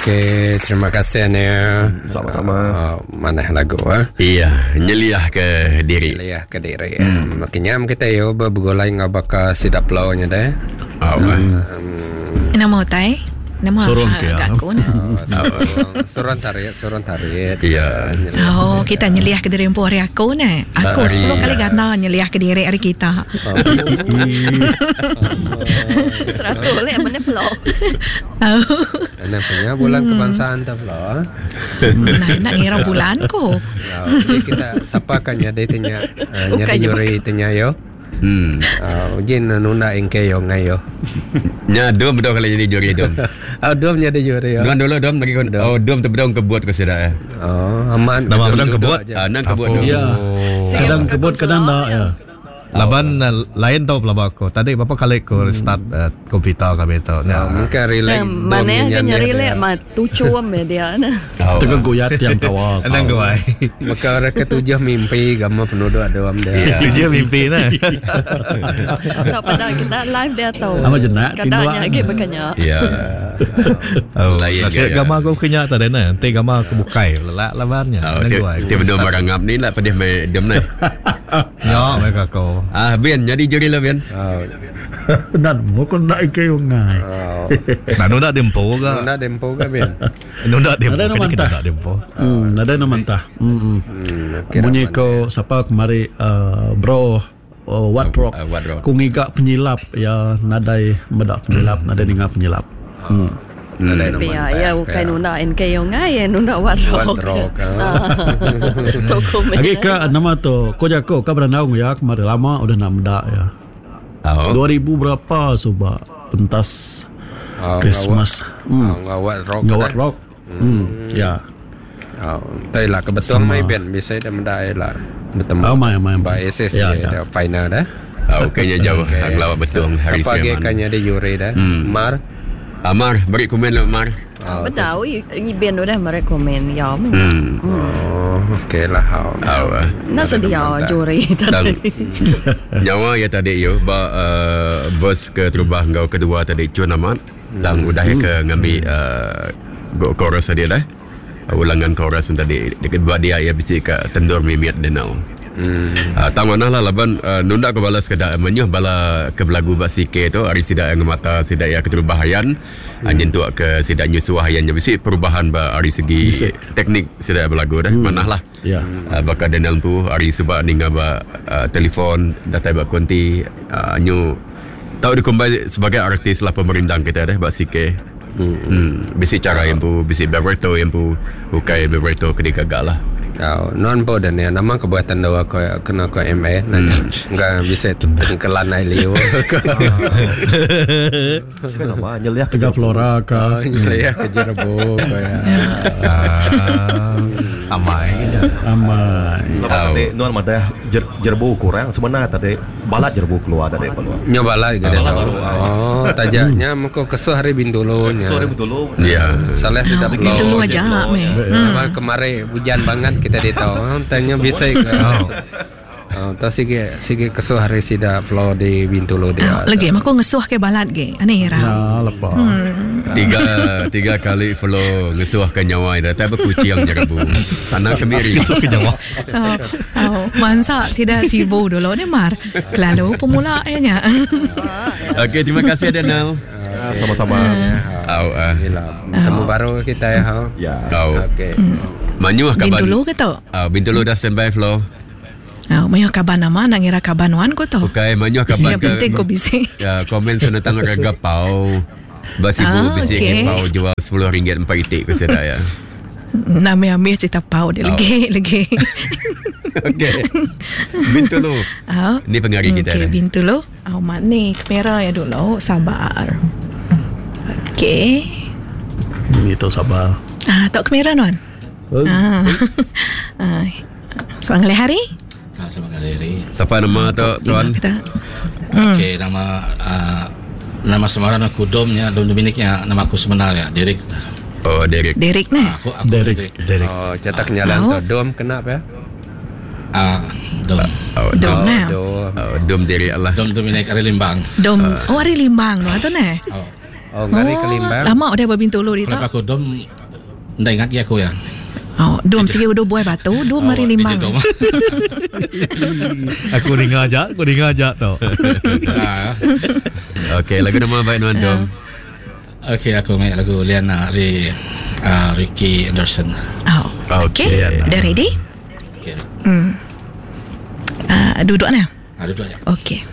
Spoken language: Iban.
Okey, terima kasih ni. Sama-sama. Uh, manah lagu ah. Iya, nyeliah ke diri. Nyeliah ke diri. Hmm. Makin nyam kita yo begulai ngau baka sida plau nya deh. Oh, hmm. Nama utai? Nama Sorong ke, agak ah. aku nah. Oh, surang tarik, surang tarik. Iya. Oh, kita nyeliah ke diri empu hari aku ne. Aku Hari- 10 kali ganda nyeliah ke diri hari kita. 100 lek mana pula. Oh. Ana punya bulan kebangsaan tu pula. Nah, nak ngira bulan ko. Oh, jadi kita siapa kan jadi tanya uh, Bukan jadi je juri tanya yo. Uh, ujin nunda ingke yo ngayo. Nya dom betul kali jadi juri dom. Oh, dom jadi juri yo. Nuan dulu dom lagi kon. Oh, dom tu bedong kebut ke sida ya. Oh, aman. Nama bedong Duduk kebut? aja. Ah, nang kebut dom. Ya. Kadang kebut kadang tak ya. Laban lain tau pelaba aku. Tadi berapa kali aku restart komputer kami tu. Oh, Nya. mungkin relax. Nah, mana dom kan nyanyi nyari dia. lek ma tucuam ya dia nah. Oh. Tegang guyat yang tawa. Anang gua. Maka orang ketujuh mimpi gama penduduk ada am dia. Iya. Tujuh mimpi nah. Tak pada kita live dia tahu. Ama jenak, Kadangnya tinduan. lagi berkanya. Ya. Oh, Lain nasib gaya. gambar aku kenya tadi nah. Nanti gambar aku bukai lelak labannya. Oh, Anang ti gua. ti bedong barangap ni lah pedih mai dom nai. Ya, mereka aku. Ah, Ben jadi juri lah Ben. Oh. Dan mu kon nak ike ngai. Oh. Nah, nunda dempo ga. Nunda dempo ke ben? Nunda dempo. Ada nama Kena entah. nunda dempo. Ada nama mentah. Hmm. Hmm, Bunyi ko siapa kemari bro oh, what rock. What Rock. Ku ngiga penyilap ya nadai medak penyilap nadai ninga penyilap. Hmm. Tapi ya, ya bukan nunda NK yang ngai, ya nunda what What rock. rock. ah. Toko Lagi ke nama tu ko jako ka berandau ya kemari lama udah nak medak ya. Oh. 2000 berapa suba pentas Oh, Christmas. Hmm. Oh, what rock. Ngawat rock. Hmm. Ya. Oh, tai lah kebetulan mai ben bisa dah mendai lah bertemu. Oh, mai, mai, Ba mai. SS Ya, ya, ya. dah final dah. Oh, kayaknya jauh okay. Lawak betul hari Siapa lagi Siaman. kan jadi juri dah? Mar. Amar, beri komen lah Amar. Betul, i ben udah merekomen ya. Hmm. Oh, okey lah. Oh. Oh. ah. Nak sedia juri Tang tadi. nyawa ya tadi yo ba uh, verse ke terubah ngau kedua tadi cun amat. Tang udah ya ke ngambil uh, go chorus tadi dah. Ulangan chorus tadi dekat buat dia ya bisi ke tendur mimiat denau. Hmm. Tang mana lah laban nunda ke balas ke da menyuh bala ke belagu bak CK tu hari sidak yang mata sidak ya keterubahan hmm. nyentuk ke sidak nyusuah yang bisi perubahan ba hari segi Bisi. teknik sidak belagu dah hmm. manah lah. Ya. Bakal Daniel tu hari sebab ninga ba telefon datai ba konti nyu tahu dikumbai sebagai artis lah pemerindang kita dah bak CK. Hmm. hmm. Bisi cara yang pu, bisi beberto yang pu, bukai beberto kena gagal lah. Oh, non po dan ya nama kebuatan dawa ko kena ko MA nanya. Enggak bisa tengkelan ai liu. Kan nama nyeliah Tiga flora Oh, ke ya ke Jerebu ko ya. Ah, amai. amai. Lepas tadi nuan madah jerbu kurang sebenarnya tadi balat jerbu keluar tadi keluar. Nyoba lah gitu tahu. Oh, tajaknya mengko kesuh hari Bintulu nya. Sorry betul. Ya. Salah sudah Itu lu aja meh. Apa kemarin hujan banget kita di tahu. Tanya bisa ke. Oh, tahu sige sige kesuh hari sida flow di Bintulu dia. Lagi aku ngesuh ke balat ge. Aneh Ya, ra. lepas. Tiga tiga kali follow ngesuah ke nyawa dah tapi kucing jerebu. Tanah kemiri. Kesuh ke nyawa. Oh, oh, mansa sida sibu dulu ni mar. Lalu pemula nya. Okey, terima kasih Daniel. Sama-sama. Au ah. Inilah bertemu baru kita ya. Ha. Ya. Au. Okey. Manyuh kaban. Bintulu ke tu? Ah, Bintulu dah standby flow. Oh, mayo kaban nama nak ngira kaban wan ko tu. Okey, manyuh kaban Yang penting ko bisi. Ya, komen tentang harga pau. Bas ibu Ah, bisi okey. okay. pau jual RM10 empat itik ke saya ya. Nama ambil cerita pau dia lagi lagi. Okey. Bintulu. Oh. Ni pengari kita Okey, dah. Bintulu. Oh, mak ni kamera ya dulu, sabar. Okey. Itu sabar. Ah, tok kamera non. Ah. ah. Selamat ngalih hari. Ah, selamat ngalih hari. Siapa nama tu tuan? Kita. Okey, nama nama semaran aku Domnya, Dom Dominiknya, nama aku sebenarnya Derek. Oh, Derek. Derek ni. Aku aku Derek. Derek. Derek. Oh, cetak nyalan Oh. tu dom kena apa ya? Ah, Dom. Oh, Dom nah. Dom. Oh, Dom Derek lah. Dom Dominik Ari Limbang. Dom. Oh, hari Limbang tu tu ne. Oh. Oh, ngari ke Limbang. Lama udah berbintulu di tu. Kenapa aku Dom Enda ingat gi aku ya. Oh, dum sigi udu buai batu, dum mari limbang. Aku ninga aja, aku ninga aja tu. Okey, lagu nama baik nuan Dom. Okey, aku main lagu Liana ari uh, Ricky Anderson. Oh. Okey. Okay. Dah ready? Okey. Hmm. Uh, duduk nah. Ah, duduk aja. Okey.